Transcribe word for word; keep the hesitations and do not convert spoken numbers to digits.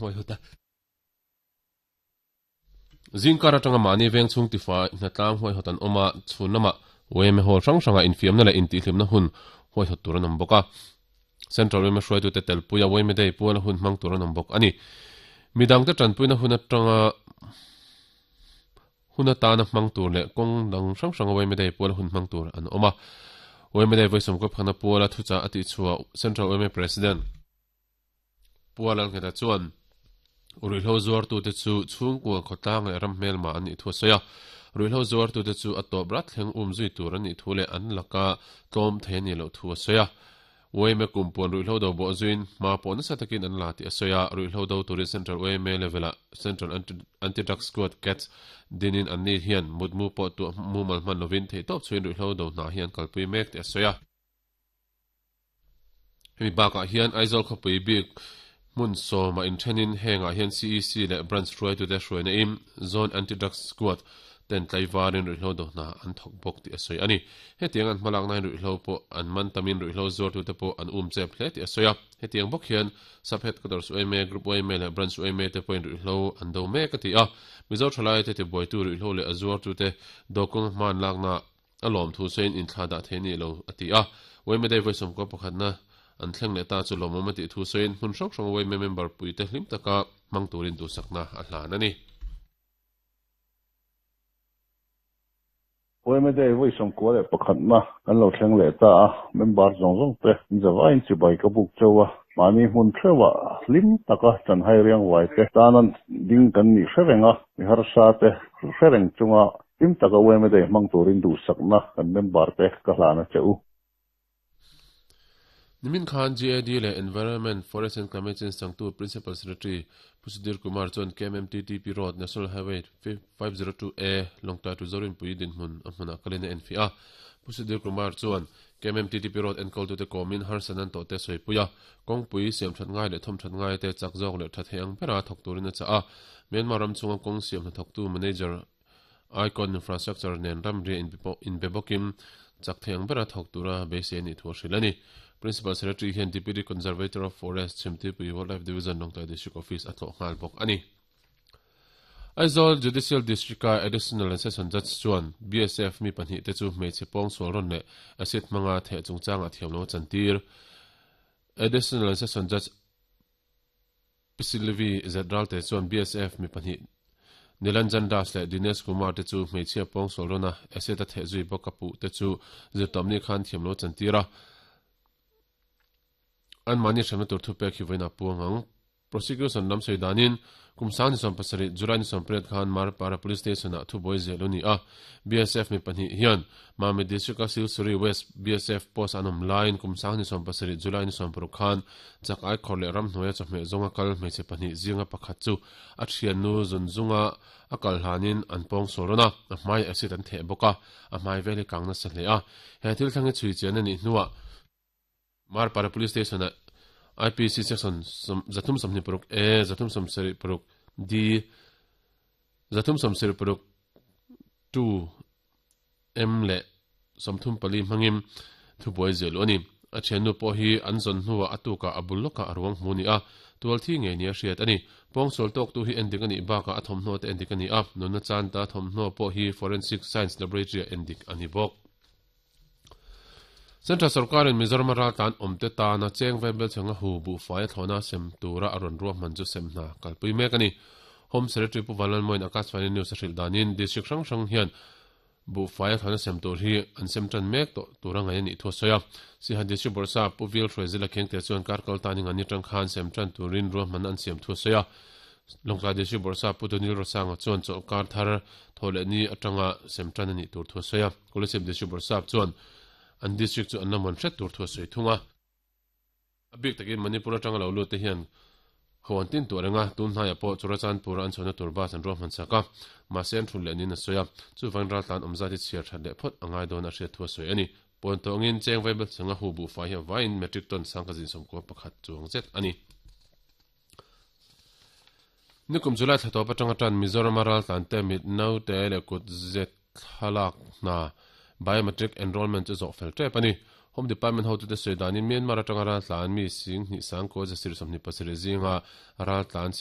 huaihawt a. Zingkar atanga mahni veng chhung tifai hnatlang huaihawt an awm a, chhun lamah Y M A hall hrang hranga infiamna leh intihhlimna hun huaihawt tur an awm bawk a. Central Y M A hruaitute telpuia Y M A Day puala hun hmang tur an awm bawk a ni. Midangte tanpuina hun atanga hun atana hmang tur leh kawng dang hrang hranga Y M A Day puala hun hmang tur an awm a. Y M A Day vawi sawmkaw phana puala thuchah a tihchhuah Central Y M A President Puala Ngheta chuan ruihhlo zuartute chu chhungkua khawtlang leh ram hmelma an nih thu a sawi a. Ruihhlo zuartute chu a tawp rat thleng um zui tur an nih thu leh an laka tlawm thei a nih loh thu a sawi a. Y M A kumpuan ruihhlo do bawh zuiin hma pawh nasa takin an la tih a sawi a. Ruihhlo do turin Central Y M A level-ah Central Anti-Drug Squad CADS dinin an ni hian mutmu pawh tuah mumal hman lovin theihtawp chhuin ruihhlo do hna hi an kalpui mek tih a sawi a. Hemi bakah hian Aizawl khawpui bik hmun sawma inthenin hengah hian C E C leh branch hruaitute hruaina in Zone Anti-Drug Squad ten tlaivarin ruihhlo do hna an thawk bawk tih a sawi a ni. Hetiang an hmalakna hian ruihhlo pawh an man tamin ruihhlo zuartute pawh an um chep hle tih a sawi a. Hetiang bawk hian Sub Headquarters Y M A, Group Y M A leh Branch Y M A te pawhin ruihhlo an do mek a ti a. Mizo thalai te tibuaitu ruihhlo leh a zuartute dawkawng hman lakna a lawm thu sawiin inthla dah thei ni lo a ti a. Y M A Day vawi sawmkaw pakhatna an thleng leh ta chu lawmawm a tih thu sawiin hmun hrang hrang Y M A member puite hlim taka hmang turin duhsakna a hlan a ni. Y M A Day vawi sawmkua leh pakhatna kan lo thleng leh ta a, member zawng zawng te zawaiin chibai ka buk cheu a, mahni hmun theuha hlim taka chanhai riang vai te tanan ding kan nih hre reng a, mi harsa te hre reng chunga hlim taka Y M A Day hmang turin duhsakna kan member te ka hlana cheu. Nimin khan G A D leh Environment, Forest and Climate Change changtu Principal Secretary Pu Sudhir Kumar chuan K M M T T P Road, National Highway five oh two A Lawngtlai to Zorinpui dinhmun a hmunah kalin a enfiah a. Pu Sudhir Kumar chuan K M M T T P Road enkawltute kawmin harsan an tawh te sawi a, kawngpui siam that ngai leh thawm that ngai te chak zawk leh tha thei ang bera thawk turin a chah a. Myanmar ram chunga kawng siam hnathawktu manager Icon Infrastructure nen ramri inbe bawkin chak thei ang bera thawk tura beisei ani thu a hrilh a ni. Principal Secretary hian Deputy Conservator of Forest Chhimtuipui Wildlife Division Lawngtlai District Office a tlawh nghal bawk a ni. Aizawl Judicial District a Additional and Session Judge chuan B S F mi pahnih te chu hmeichhe pawng sual rawn leh acid hmanga theh chungchanga thiam lo chantir. Additional and Session Judge Pisilivi Zedral te chuan B S F mi pahnih Nilanjan Das leh Dinesh Kumar te chu hmeichhia pawng sual rawn a acid a theh zui bawk a puh te chu zirtawmni khan thiam lo chantira. An mani hremna tur thu pek hi voina puang ang. Prosecution lam sei danin kumsang ni som pasarih July ni som pariat khan Marpara Police Station ah thu boi zel ani a. B S F mi pahnih hian Mami District a Silsuri West B S F post an awm laiin kumsang ni som pasarih July ni som paruk khan chak ai khawr leh ram hnuaia chawhmeh zawnga kal hmeichhe pahnih zinga pakhat chu a thian nu zun zunga a kal hlanin an pawng sual rawn a, a hmai acid an theh bawk a, a hmai vel hi kang nasa hle a. He thil thleng hi chhui chian ani hnuah Marpara Police Station a I P C section zathum sawmhnih paruk A, zathum sawmsarih paruk D, zathum sawmsarih paruk two M leh sawmthum pali hmangin thubuai zel ani. A thiannu pawh hi an zawn hnuah a tukah a bul lawkah a ruang hmu ni a, tual thi ngei ni a hriat ani. Pawngsual tawk tu hi endik ani bakah a thawmhnaw te endik ani a, nunna chan ta thawmhnaw pawh hi Forensic Science Laboratory a endik ani bawk. Central Sarkarin Mizoram raltlan awmte tana cheng vaibel changa hu bu fai thlona sem tura a rawn ruahman chu sem hna kalpui mek ani. Home Secretary Pu Vanlalmoin Akashvani News a hrilh danin district hrang hrang hian bu fai thlona sem tur hi an sem tan mek to tura ngai ani thu sawi a. Siaha District Bawrhsap Pu Vil Hruaizela Khengte chuan kar kal tanin ani tang khan sem tan turin ruahman an siam thu sawi a. Lawngtlai District Bawrhsap Pu Daniel Rosanga chuan chaw kar thar thawhleh ni atanga sem tan ani tur thu sawi a. Kolasib District Bawrhsap chuan an district chu an lamon hret tur thu sawi thunga. A bik takin Manipur atanga lo lut te hian hawan tin tur anga tun hnaiah pawh Churachandpur an chhona tur bus an ruahman sak a, mahse an thun leh nin a sawi a. Chu van ral tlan awmza ti chhiar that leh phawt angai dawn a hriat thu a sawi ani. Pawn tawngin cheng vaibel changa hu bu fai hi vaiin metric ton sangka zin sawmkua pakhat chuang zet ani. Nikum July thla tawp atanga tan Mizoram ral tlan te mit no te leh kut zet thlalak hna biometric enrollment chu zawh fel tep ani. Home Department ho tu te sawi danin Myanmar atanga ral tlan mi sing hnih sang ko zasir sawmhnih pasarih zinga ral tlan si